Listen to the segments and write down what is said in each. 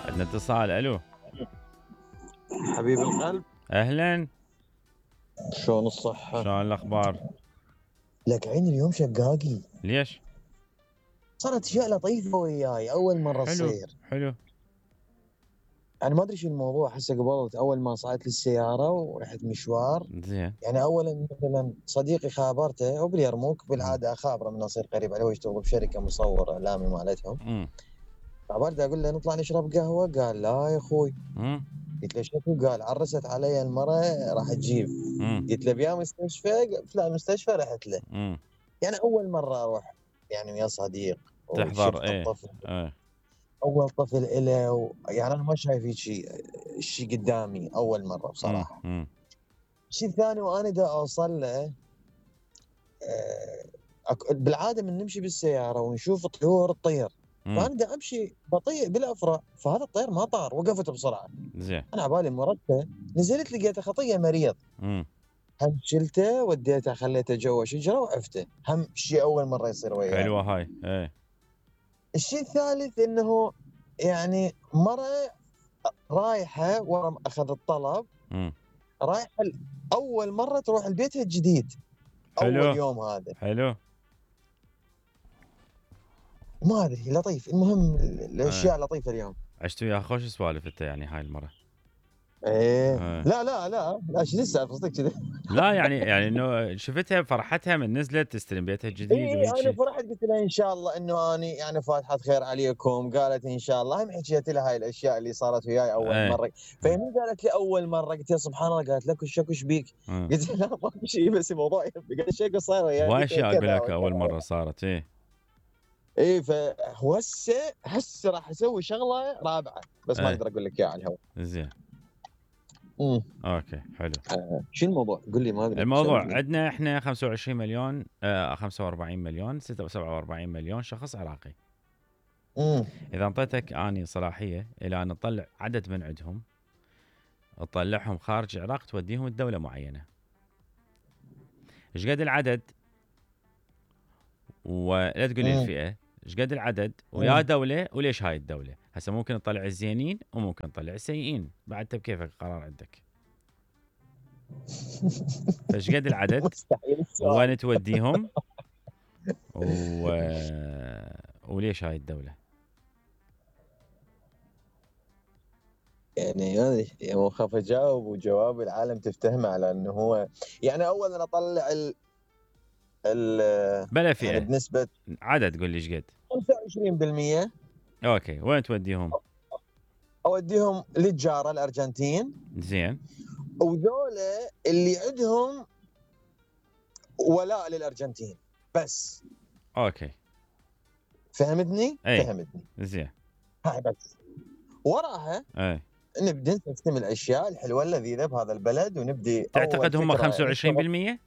عندنا اتصال. الو حبيب القلب، اهلا، شلون الصحة؟ شلون الاخبار؟ لك عين اليوم شقاقي، ليش؟ صارت اشياء لطيفة وياي اول مرة حلو تصير. حلو. انا ما ادري شو الموضوع، هسه قبلت اول ما صعدت لي السيارة ورحت مشوار. زين. يعني اولا مثلا صديقي خابرته وباليرموك، بالعادة اخابره من اصير قريب عليه، هو يشتغل بشركة مصور اعلامي مالتهم. خابرته اقول له نطلع نشرب قهوة، قال لا يا اخوي. قلت له شكو؟ قال عرست علي المرة راح تجيب. قلت له بيا مستشفى؟ فلان المستشفى رحت له. يعني اول مرة اروح يعني ويا صديق تحضر. وشفت الطفل. ايه اول طفل إله يعني انا ما شايف شيء قدامي اول مره بصراحه. الشيء الثاني وانا دا اوصل له، بالعاده من نمشي بالسياره ونشوف طيور تطير، فانا دا امشي بطيء بالافرع، فهذا الطير ما طار، وقفت بسرعه. زين. انا عبالي مرته، نزلت لقيته خطيه مريض. هم شلته وديته خليته جوا شجره وعفته. هم شيء اول مره يصير وياي. حلوه هاي. ايه. الشيء الثالث انه يعني مره رايحه ورا اخذ الطلب، رايحه اول مره تروح لبيتها الجديد. حلو. اول يوم هذا حلو. ما ادري، لطيف. المهم الاشياء لطيفه اليوم. عشت وياها خوش سوالف انت يعني هاي المره. ايه لا شو لسه قصدك كذا؟ لا يعني انه شفتها فرحتها من نزلت تستلم بيتها الجديد. ايه انا فرحت، قلت لها ان شاء الله انه اني يعني فاتحه خير عليكم. قالت ان شاء الله. هم حكيت لها هاي الاشياء اللي صارت وياي اول مره. فهي قالت لي اول مره، قلت لها سبحان الله. قالت لك وش بيك؟ قلت لها لا ماكو شيء، بس الموضوع قالت شيء صاير وياي. هواي اشياء اقول لك اول مره صارت. ايه هسه راح اسوي شغله رابعه، بس ما اقدر اقول لك اياها على الهواء. زين. اوكي حلو. شو الموضوع؟ قل لي. ما ادري الموضوع عندنا احنا 25 مليون 45 مليون 47 مليون شخص عراقي. اذا انطيتك اني صلاحيه الى ان نطلع عدد من عندهم، تطلعهم خارج العراق توديهم الدوله معينه، ايش قد العدد؟ ولا تقول لي الفئه، ايش قد العدد ويا دوله وليش هاي الدوله. هسه ممكن نطلع الزينين وممكن نطلع السيئين، بعد بكيفك القرار عندك. فايش قد العدد وين توديهم وليش هاي الدوله. يعني هذه مو خاف اجاوب وجواب العالم تفتهمه على انه هو يعني اولا اطلع بلا فئه يعني بنسبه عدد. قول لي ايش قد. 25%. اوكي وين توديهم؟ اوديهم للجاره الارجنتين. زين. وذولا اللي عندهم ولاء للارجنتين بس. اوكي فهمتني؟ فهمتني. زين. هاي بس. وراها نبدا نستخدم الاشياء الحلوه اللذيذه بهذا البلد ونبدي. تعتقد هم 25%؟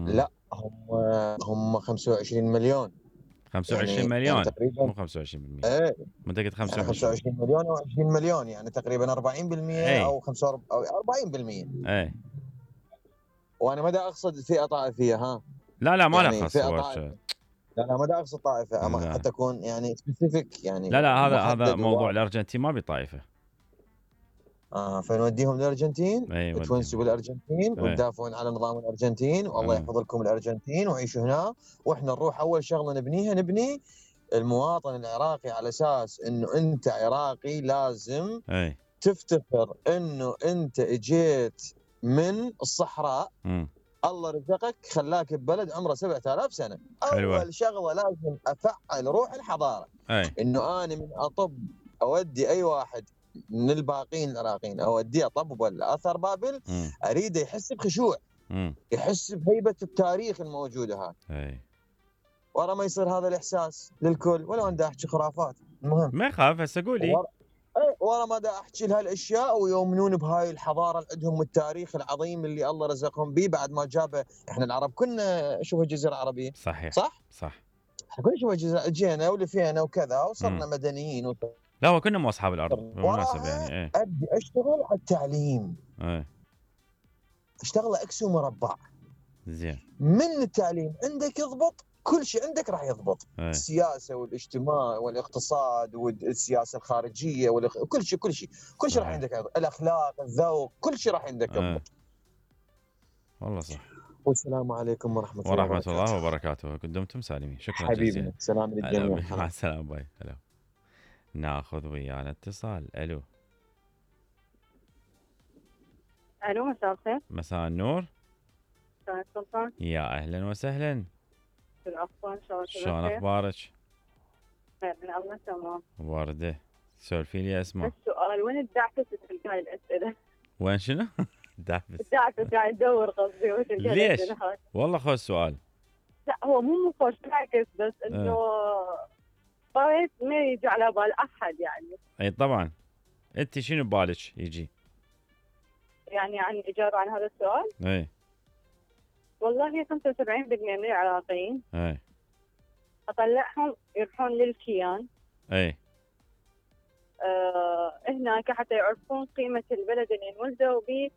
لا هم 25 مليون. 25 يعني مليون يعني تقريبا مو 25%. ايه متأكد 25 يعني 25 مليون او 20 مليون، يعني تقريبا 40% او 45 او 40%. وانا ما دا اقصد فئه طائفيه. ها لا ما يعني لخص. لا ما دا اقصد طائفه حتى اكون يعني سبيسيفيك يعني. لا هذا موضوع الارجنتين ما بطائفه. فنوديهم للارجنتين. تونسوا بالارجنتين وتدافعون على نظام الارجنتين، والله يحفظ لكم الارجنتين وعيشوا هنا. واحنا نروح اول شغله نبني المواطن العراقي، على اساس انه انت عراقي لازم تفتخر انه انت اجيت من الصحراء. الله رزقك خلاك ببلد عمره 7000 سنه. اول شغله لازم افعل روح الحضاره. انه انا من اطب اودي اي واحد من الباقين العراقيين اوديه طب ولا اثر بابل، اريده يحس بخشوع، يحس بهيبه التاريخ الموجوده هاي. ورا ما يصير هذا الاحساس للكل، ولا انا احكي خرافات. المهم ما يخاف. هسه قولي ورا ما دا احكي لهالاشياء ويؤمنون بهاي الحضاره اللي عندهم والتاريخ العظيم اللي الله رزقهم به بعد ما جابه. احنا العرب كنا شوف الجزيره العربيه. صحيح صح. احنا كنا شوف الجزيره، جينا ولفينا وكذا وصرنا مدنيين لا هو كنا مو اصحاب الارض بالمناسبه يعني. ابدي اشتغل على التعليم. اشتغل اكس ومربع. زين. من التعليم عندك يضبط كل شيء عندك راح يضبط. السياسه والاجتماع والاقتصاد والسياسه الخارجيه كل شيء راح عندك يضبط. الاخلاق، الذوق، كل شيء راح عندك يضبط. والله صح. والسلام عليكم ورحمه الله وبركاته. دمتم سالمين. شكرا جزيلا. سلام للجميع. مع السلامه. باي. هلا. ناخذ ويانا اتصال. الو. الو، مساء الخير. مساء النور. مساء السلطان. يا اهلا وسهلا. شو الاخبار؟ شلون اخبارك؟ خير من الله. تمام. ورده. سولفي لي اسمع. السؤال وين الدعفس في هاي الاسئله؟ وين شنو؟ الدعفس قاعد ادور قصدي وش ليش؟ والله خوش سؤال. لا هو مو خوش بالعكس، بس انه طريت ما يجي على بال احد يعني. اي طبعا. انت شنو ببالك يجي؟ يعني عن اجابه عن هذا السؤال؟ اي والله 75% من العراقيين اي اطلعهم يروحون للكيان. اي هناك حتى يعرفون قيمه البلد اللي انولدوا به.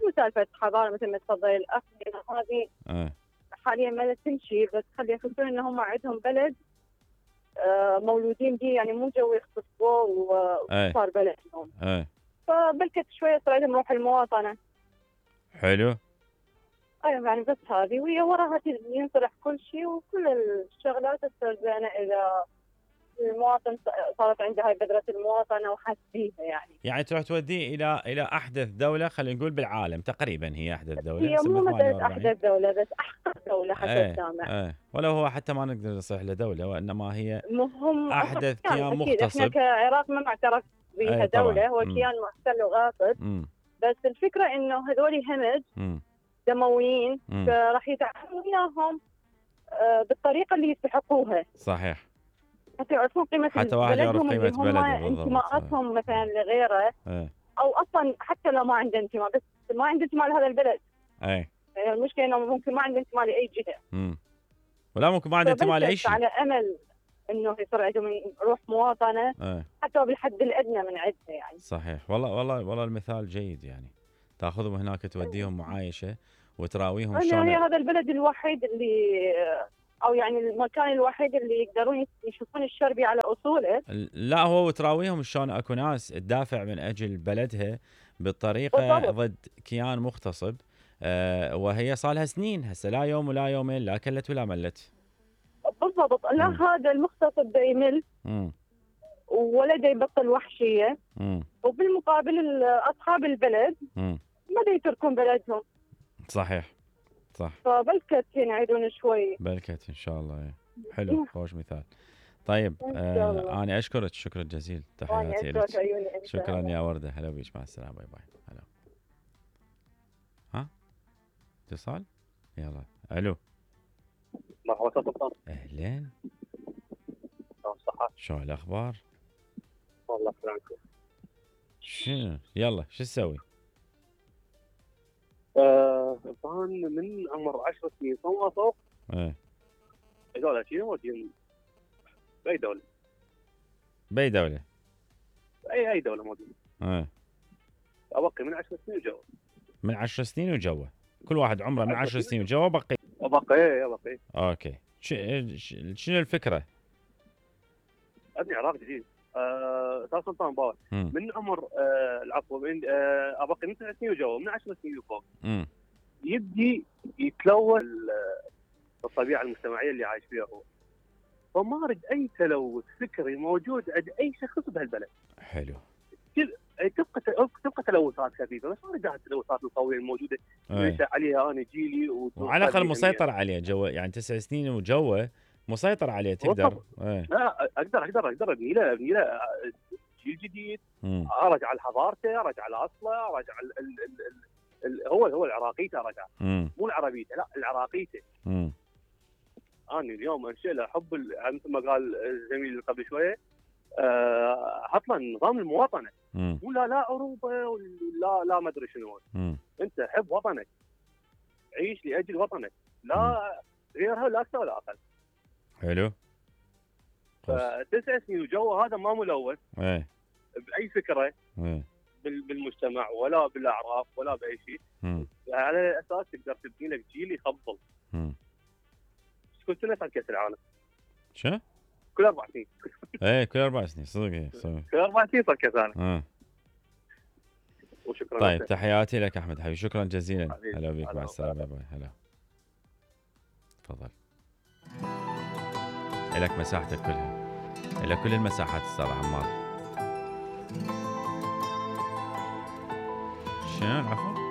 مسالفه حضاره مثل ما تفضل الاخ هذه حاليا ما تمشي، بس خلي يحسون ان هم عندهم بلد مولودين به، يعني مو جو يختصوه وصار بلدهم. فبلكت شويه صار لهم روح المواطنه. حلو. ايوه يعني بس هذه وهي وراها ينصلح كل شيء، وكل الشغلات تصير زينه اذا المواطن صارت عنده هاي بذرة المواطنة وحس بيها يعني تروح توديه إلى أحدث دولة، خلينا نقول بالعالم تقريبا هي أحدث دولة. هي مو مثلا أحدث دولة، بس أحدث دولة حتى السامع. ولو هو حتى ما نقدر نصيح له دولة، وإنما هي أحدث كيان مغتصب. إحنا كعراق ما معترف بها دولة، هو كيان محتل وغاصب. بس الفكرة إنه هذول همج دمويين، راح يتعاملوا وياهم بالطريقة اللي يستحقوها. صحيح. حتى يعرفون قيمة حتى واحد يعرف قيمة بلده، انتماءاتهم مثلا لغيره. او اصلا حتى لو ما عنده انتماء، بس ما عنده انتماء لهذا البلد. يعني المشكلة انه ممكن ما عنده انتماء لاي جهة. ولا ممكن ما عنده انتماء لاي شيء. على امل انه يصير عندهم روح مواطنة. حتى بالحد الادنى من عندها يعني. صحيح. والله المثال جيد يعني. تاخذهم هناك توديهم معايشة وتراويهم شلون. هي هذا البلد الوحيد اللي او يعني المكان الوحيد اللي يقدرون يشوفون الشربي على اصوله. لا هو وتراويهم شلون اكو ناس تدافع من اجل بلدها بالطريقه ضد كيان مغتصب. وهي صار لها سنين هسه، لا يوم ولا يومين، لا كلت ولا ملت. بالضبط. لا هذا المغتصب دا يمل ولا دا يبطل وحشيه. وبالمقابل اصحاب البلد ما دا يتركون بلدهم. صحيح صح. فبلكت ينعدون شوي. بلكت ان شاء الله. حلو. خوش مثال. طيب انا اشكرك شكرا جزيلا. تحياتي لك. شكرا يا ورده. هلا بيك. مع السلامه. باي باي. هلا. ها اتصال. يلا. الو. مرحبا سلطان. اهلين. شو الاخبار؟ والله سلامتكم. شنو يلا شو تسوي؟ كان من عمر 10 سنين فما فوق. هذول شنو موجودين باي دوله. باي دوله. اي دوله موجوده. ابقي من 10 سنين وجوا. من 10 سنين وجوا. كل واحد عمره من 10 سنين وجوا بقي. ابقي. اوكي. شنو الفكره؟ ابني عراق جديد. استاذ سلطان باور من عمر العفو من ابقي من 9 سنين وجوا، من 10 سنين وفوق يبدي يتلوث الطبيعه المجتمعيه اللي عايش فيها هو. فما اريد اي تلوث فكري موجود عند اي شخص بهالبلد. حلو. تبقى تلوثات خفيفه، بس ما اريد التلوثات القويه الموجوده اللي عليها انا جيلي وعلى الاقل مسيطر عليه جوا، يعني 9 سنين وجوا مسيطر عليه تقدر. لا اقدر ابني له جيل جديد. ارجع لحضارته، ارجع لاصله، ارجع هو العراقيته، ارجع مو العربيته، لا العراقيته. انا اليوم انشئ له حب مثل ما قال الزميل قبل شويه، حط له نظام المواطنه. ولا لا اوروبا ولا ما ادري شنو. انت حب وطنك، عيش لاجل وطنك، لا غيرها لا اكثر ولا اقل. حلو. 9 سنين وجو هذا ما ملوث باي فكره بالمجتمع ولا بالاعراف ولا باي شيء. على اساس تقدر تبني لك جيل يفضل. كل سنه صار كاس العالم. شو؟ كل 4 سنين. ايه كل 4 سنين صدق. كل 4 سنين صار كاس العالم. وشكرا. طيب تحياتي لك احمد حبيبي، شكرا جزيلا. هلا بك، مع السلامه. باي. هلا تفضل. لك مساحتك كلها، الى كل المساحات استاذ عمار. شنو العفو؟